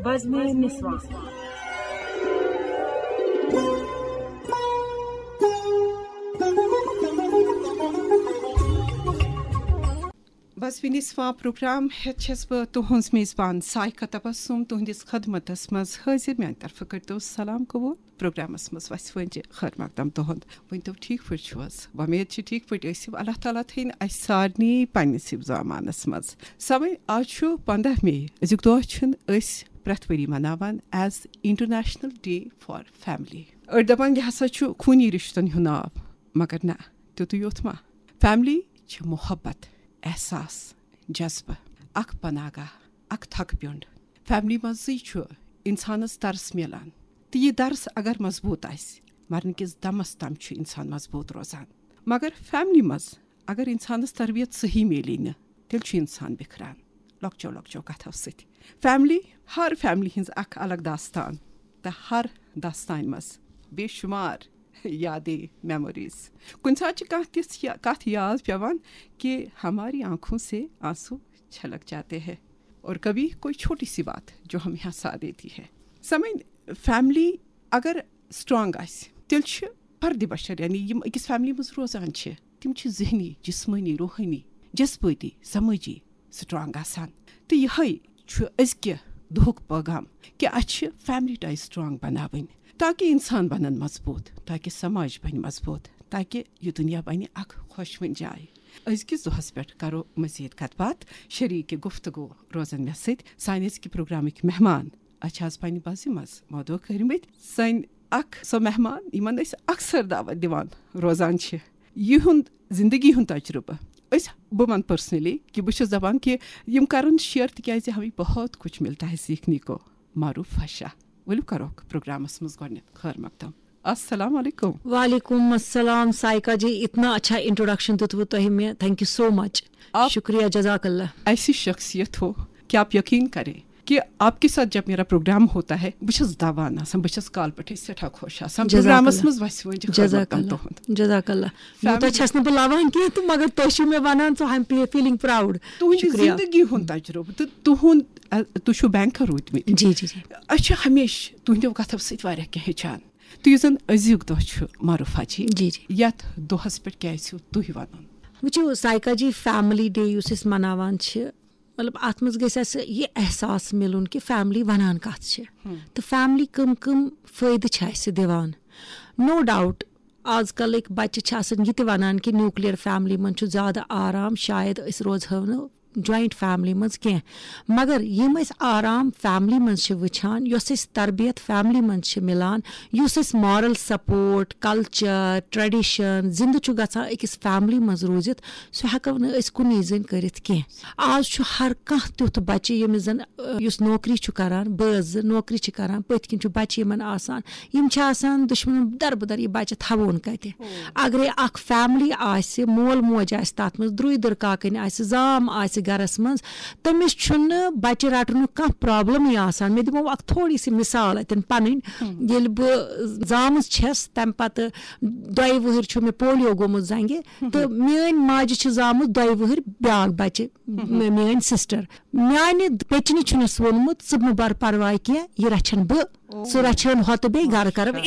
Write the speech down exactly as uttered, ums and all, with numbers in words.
بزمِ نسواں۔ بزمِ نسواں programme ہیتھ چھس بہٕ تُہنٛز میزبان سائقہ تبسم تُہنٛدِس خدمتس منٛز حٲضِر۔ میانہِ طرفہٕ کٔرتو سلام قبول۔ پروگرامس منٛز وسہِ وۄنۍ خٲر مقدم تُہنٛد۔ ؤنۍ تو، ٹھیٖک پٲٹھۍ چھِو حظ؟ وۄمید چھِ ٹھیٖک پٲٹھۍ ٲسِو۔ اللہ تعالیٰ تھٲیِن اسہِ سارنٕے پننِس حفظ امانس منٛز۔ سمے، آز چھُ پنٛداہ مے۔ أزیُک دۄہ چھُنہٕ أسۍ پرٛٮ۪تھ ؤری مناوان as International Day for Family۔ أڑۍ دپان، یہِ ہسا چھُ خوٗنی رِشتن ہُنٛد ناو، مگر نہ، تیُتُے یوت ما؟ فیملی چھِ محبت، احساس، جذبہٕ، اکھ پناہ گاہ، اکھ تھکہٕ پیوٚنٛڈ۔ فیملی منٛزٕے چھُ انسانس درس میلان، تہٕ یہِ درس اگر مضبوٗط آسہِ، مرنہٕ کِس دمس تام چھُ انسان مضبوٗط روزان۔ مگر فیملی منٛز اگر انسانس تربیت صحیح میلی نہٕ، تیٚلہِ چھُ انسان بِکھران لۄکچو لۄکچو کتھو سۭتۍ۔ فیملی، ہر فیملی ہٕنٛز اکھ الگ داستان، تہٕ ہر داستانہِ منٛز بے شمار یادیں، میموریز۔ کُنہِ ساتہٕ چھِ کانٛہہ تِژھ یا-، کتھ یاد پٮ۪وان کہ ہماری آنکھوں سے آنسو چھلک جاتے ہیں، اور کبھی کوئی چھوٹی سی بات جو ہمیں ہنسا دیتی ہے۔ سمجھ، فیملی اگر اسٹرانگ آسہِ، تیٚلہِ چھِ فرد بشر، یعنی یِم أکِس فیملی منٛز روزان چھِ، تِم چھِ ذہنی، جسمٲنی، روحٲنی، جذبٲتی، سمٲجی اسٹرانگ آسان۔ تہٕ یِہوٚے چھُ أزکہِ دۄہُک پیغام کہ اَسہِ چھِ فیملی ٹاے اسٹرانگ بناوٕنۍ، تاکہ انسان بنن مضبوٗط، تاکہ سماج بنہِ مضبوٗط، تاکہ یہِ دُنیا بنہِ اکھ خۄشوٕنۍ جاے۔ أزکِس دۄہس پٮ۪ٹھ کرو مزید کتھ باتھ۔ شریک گفتگو روزن مےٚ سۭتۍ سانہِ أزکہِ پروگرامٕکۍ مہمان۔ اَسہِ چھِ آز پننہِ بزِ منٛز مودو کٔرمٕتۍ سٲنۍ اکھ سۄ مہمان، یِمن أسۍ اکثر دعوت دِوان روزان چھِ۔ یِہُنٛد زندگی ہُنٛد تجربہٕ، أسۍ، بہٕ ونہٕ پرسنلی کہ بہٕ چھَس دپان کہ یِم کرن شیئر، تِکیازِ ہمیں بہت کچھ ملتا ہے سیکھنے کو۔ معروف فشا، ؤلِو کروکھ پروگرامس منٛز گۄڈٕنیتھ خٲر مقدم۔ السلام علیکم۔ وعلیکم السلام سائقہ جی، اتنا اچھا انٹروڈکشن دیُتوٕ تۄہہِ مےٚ، thank you so much۔ آپ شکریہ، جزاک اللہ۔ ایسی شخصیت ہو کہ آپ یقین کریں کہ آپ کے ساتھ جب میرا پروگرام ہوتا ہے، بہٕ چھَس دوان آسان، بہٕ چھَس کالہٕ پٮ۪ٹھَے سٮ۪ٹھاہ خۄش آسان۔ جزاک پروگرامس اللہ۔ منٛز وَسہِ وۄنۍ خٲر جزاک مقدم اللہ۔ تُہُنٛد۔ جزاک اللہ۔ فیملی یوٗتاہ چھَس نہٕ بہٕ لَوان کینٛہہ تہٕ مگر تۄہہِ چھِو مےٚ وَنان، so I am feeling proud۔ تُہٕنٛدِ شُکریہ۔ زِندگی ہُنٛد تجربہٕ تہٕ تُہُنٛد، ا، تُہۍ چھِو بینکر روٗدمٕتۍ۔ جی، جی، جی۔ أسۍ چھِ ہمیشہِ تُہٕنٛدیو کَتھو سۭتۍ واریاہ کینٛہہ ہیٚچھان۔ تہٕ یُس زَن أزیُک دۄہ چھُ معروفہ جی، جی، جی۔ یَتھ دۄہَس پٮ۪ٹھ کیٛاہ آسِو تُہۍ وَنُن؟ وٕچھِو سائقہ جی، فیملی ڈے یُس أسۍ مَناوان چھِ، مطلب، اَتھ منٛز گژھِ اَسہِ یہِ احساس مِلُن کہِ فیملی وَنان کَتھ چھِ۔ ہم۔ تہٕ فیملی کٕم کٕم فٲیدٕ چھِ اَسہِ دِوان۔ نو ڈاوُٹ، آز کَلٕکۍ بَچہِ چھِ آسان یہِ تہِ وَنان کہِ نیوٗکلیر فیملی منٛز چھُ زیادٕ آرام، شاید أسۍ روزہو نہٕ جوائنٹ فیملی منٛز کینٛہہ۔ مگر یِم أسۍ آرام فیملی منٛز چھِ وٕچھان، یۄس أسۍ تربیت فیملی منٛز چھِ مِلان، یُس أسۍ مارل سپورٹ، کلچر، ٹریڈیشن زِندٕ چھُ گژھان أکِس فیملی منٛز روٗزِتھ، سُہ ہٮ۪کو نہٕ أسۍ کُنی زٔنۍ کٔرِتھ کینٛہہ۔ آز چھُ ہر کانٛہہ تیُتھ بچہِ، ییٚمِس زن، ٲ، یُس نوکری چھُ کران، بٲژ زٕ نوکری چھِ کران، پٔتھۍ کِنۍ چھُ بچہِ یِمن آسان۔ یِم چھِ آسان دُشمنن دربٕدر یہِ بچہِ تھاوون کتہِ۔ اگرے اکھ فیملی آسہِ، مول موج آسہِ تتھ منٛز، درُے دٕرکاکٕنۍ آسہِ، زام آسہِ گرس منٛز، تٔمِس چھُنہٕ بچہِ رٹنُک کانٛہہ پرابلمٕے آسان۔ مےٚ دِمو اکھ تھوڑی سی مثال اتٮ۪ن پنٕنۍ۔ ییٚلہِ بہٕ زامٕژ چھَس، تمہِ پتہٕ دۄیہِ وٕہٕرۍ چھُ مےٚ پولیو گوٚمُت زنٛگہِ، تہٕ میٲنۍ ماجہِ چھِ زامٕژ دۄیہِ وٕہٕرۍ بیٛاکھ بچہِ، مےٚ، میٲنۍ سسٹر۔ میانہِ پیچنہِ چھُنس ووٚنمُت، "ژٕ مہٕ بر پرواے کینٛہہ، یہِ رچھن بہٕ، سُہ رچھن ہۄتہٕ بیٚیہِ گرٕ کرو